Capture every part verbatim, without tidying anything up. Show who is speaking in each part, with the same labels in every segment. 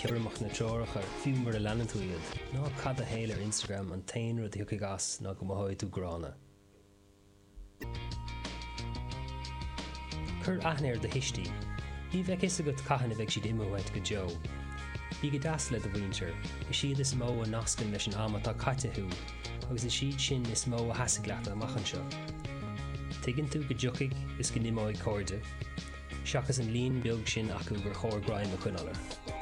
Speaker 1: cúramach na treoracha fiú mura leanann tú iad. Ná caith do shaol ar Instagram an t-aon rud a thiocfaidh as ná go mothóidh tú gránna. Cuir aithne ar do thuistí. Ní bheidh fhios agat cathain a bheidh siad imithe uait go deo. Bí go deas le do mhuintir. Is iad is mó a nascann leis an am atá caite thú, agus is iad sin is mó a sheasfaidh leat amach anseo. Tuigeann tú go dtiocfaidh is go n-imeoidh cairde, seachas an líon beag sin acu gur chóir greim a choinneáil orthu.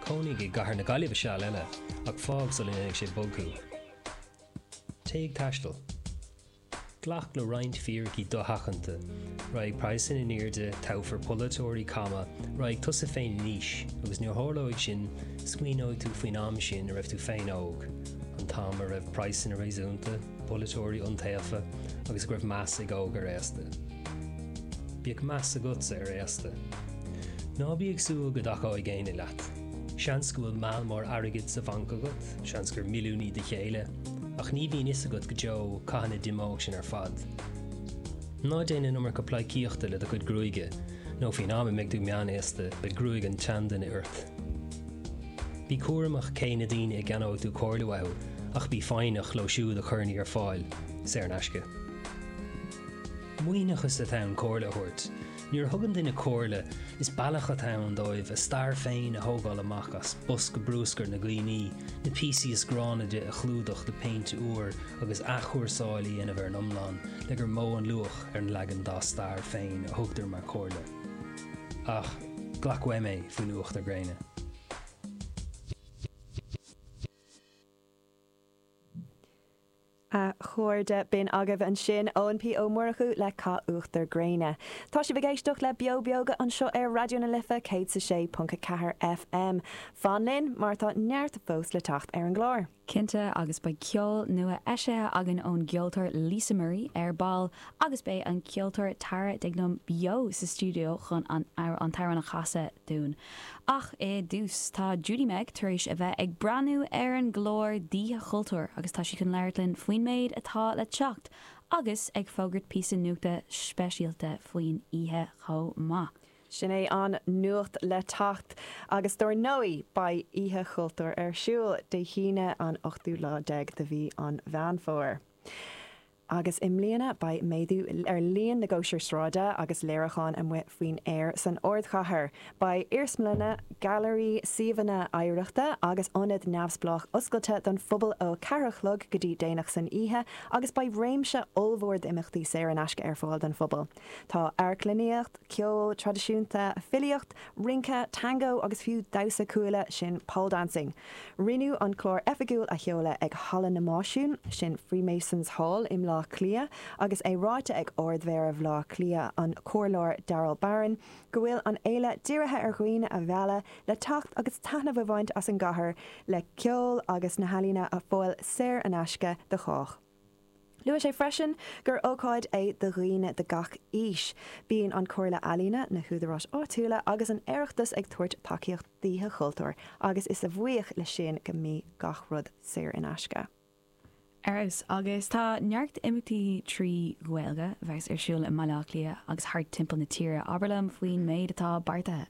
Speaker 1: Cónaigh i gcathair na Gaillimhe seal eile, ach fág sula ndéanfaidh sé bog thú. Téigh ag taisteal. Glac le roinnt fíricí dosheachanta, raghaidh praghsanna in airde, toghfar polaiteoirí cama, raghaidh tusa féin in aois, agus nuair a tharlóidh sin, smaoineoidh tú faoin am sin a raibh tú féin óg, an t-am a raibh praghsanna réasúnta, polaiteoirí iontaofa, agus go raibh meas ag óg ar aosta. Bíodh meas agatsa ar aosta. Ná bí ag súil go dtacóidh éinne leat. Seans go bhfuil meall mór airgid sa bhanc agat, seans gur milliúnaí do chéile, ach ní bhíonn fhios agat go deo cathain a d'imeodh sin ar fad. Ná déan an iomarca pleidhcíochta le do chuid gruaige, nó faoin am a mbeidh tú meánaosta, beidh gruaig an tseanduine ort. Bí cúramach cé na daoine a gceannóidh tú comhairle uathu, ach bí foighneach leo siúd a chuireann í ar fáil, saor in aisce. Maoithneachas atá ann comhairle a thabhairt. Nuair a thugann duine comhairle, is bealach atá ann dóibh a stair féin a thógáil amach as bosca bruscair na gcuimhní, na píosaí is gránna di a chlúdach le péint úr agus athchúrsáil a dhéanamh ar an iomlán le gur mó an luach ar an leagan dá stair féin a thugtar mar chomhairle. Ach glac uaim é faoin uachtar gréine.
Speaker 2: A chairde, b'in agaibh ansin Eoin P Ó Murchú le Caith Uachtar Gréine. Tá sibh ag éisteacht le Beo Beoga anseo ar Raidió na Life céad 's a sé ponc a ceathair FM. Fan linn mar tá neart fós le teacht ar an gclár.
Speaker 3: Cinnte, agus beidh ceol nua eisithe againn ón gceoltóir Lisa Marie ar ball agus beidh an ceoltóir Tara Dignam beo sa stiúideo chun an t-amhrán a chasadh dúinn. Ach i dtús, tá Judy Meg tar éis a bheith ag breathnú ar an gclár d'Oíche Chultúir agus tá sí chun labhairt linn faoin méid atá le teacht agus ag fógairt píosa nuachta speisialta faoin oíche chomh maith.
Speaker 2: Sin é an nuacht le teacht agus dár ndóigh beidh Oíche Chultúir ar siúl Dé hAoine an ochtú lá déag de mhí an Mheán Fómhair. Agus i mbliana beidh méadú ar líon na gcóisir sráide agus léiriúchán amuigh faoin aer san ardchathair. Beidh iarsmalanna, gailearaí, suíomhanna oidhreachta agus ionaid neamhspleách oscailte don phobal ó a ceathair a chlog go dtí déanach san oíche agus beidh réimse ollmhór d'imeachtaí saor in aisce ar fáil don phobal. Tá amharclannaíocht, ceol traidisiúnta, filíocht, rince, tango agus fiú damhsa cuaille, sin pole dancing. Rinneadh an clár oifigiúil a sheoladh ag Halla na Máisiún, sin Freemasons Hall i mBleá Cliath, agus é ráite ag Ard-Mhéara Bhaile Átha Cliath, an Comhairleoir Daryl Barron, go bhfuil an fhéile dírithe ar dhaoine a mhealladh le teacht agus taitneamh a bhaint as an gcathair le ceol agus na healaíona ar fáil saor in aisce do chách. Luaigh sé freisin gur ócáid é do dhaoine de gach aois. Bíonn an Chomhairle Ealaíon, na húdaráis áitiúla agus an Oireachtas ag tabhairt tacaíocht d'Oíche Chultúir agus is a bhuíoch le sin go mbíonn gach rud saor in aisce.
Speaker 3: Ar fheabhas, agus tá neart imeachtaí trí Ghaeilge a bheas ar siúl i mBaile Átha Cliath agus thart timpeall na tíre. Abair liom faoin méid atá beartaithe.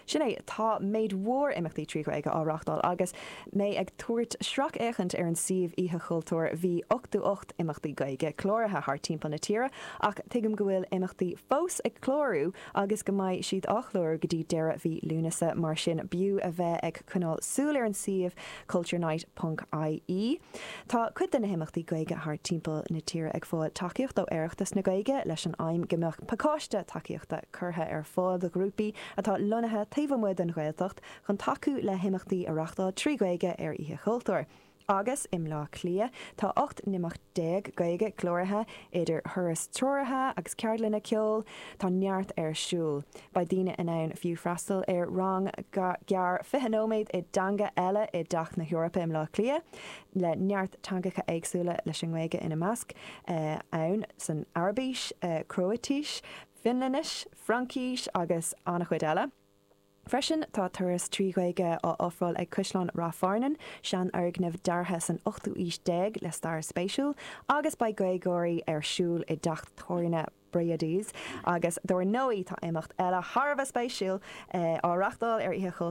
Speaker 2: Sin é, tá méid mhór imeachtaí trí Ghaeilge á reáchtáil agus mé ag tabhairt sracfhéachaint ar an suíomh Oíche Chultúir bhí ochtó ocht imeachtaí Gaeilge cláraithe thart timpeall na tíre ach tuigim go bhfuil imeachtaí fós ag clárú agus go mbeidh siad á chlárú go dtí deireadh mhí Lúnasa mar sin b'fhiú a bheith ag coinneáil súil ar an suíomh culturenight ponc ie. Tá cuid de na himeachtaí Gaeilge thart timpeall na tíre ag fáil tacaíocht ó Oireachtas na Gaeilge leis an aidhm go mbeadh pacáiste tacaíochta curtha ar fáil do ghrúpaí atá lonnaithe taobh amuigh den Ghaeltacht chun tacú le himeachtaí a reáchtáil trí Ghaeilge ar Oíche Chultúir. Agus i mBleá Cliath tá ocht n-imeacht déag Gaeilge cláraithe, idir thuras treoraithe agus ceardlanna ceoil, tá neart ar siúl. Beidh daoine in ann fiú freastal ar rang gearr fiche nóiméad i dteanga eile i dTeach na hEorpa i mBleá Cliath, le neart teangacha éagsúla leis an nGaeilge ina measc, ann san Araibis, Cróitis, Fionlainnis, Fraincis agus an-chuid eile. Freisin, tá turas trí Ghaeilge á ofráil ag Caisleán Ráth Fearnáin, seanfhoirgneamh deartha san ochtú aois déag le stair spéisiúil, agus beidh Gaeilgeoirí ar siúl i dteach tábhairne Brady's. Agus dár ndóigh, tá imeacht eile thar a bheith spéisiúil á reáchtáil ar Oíche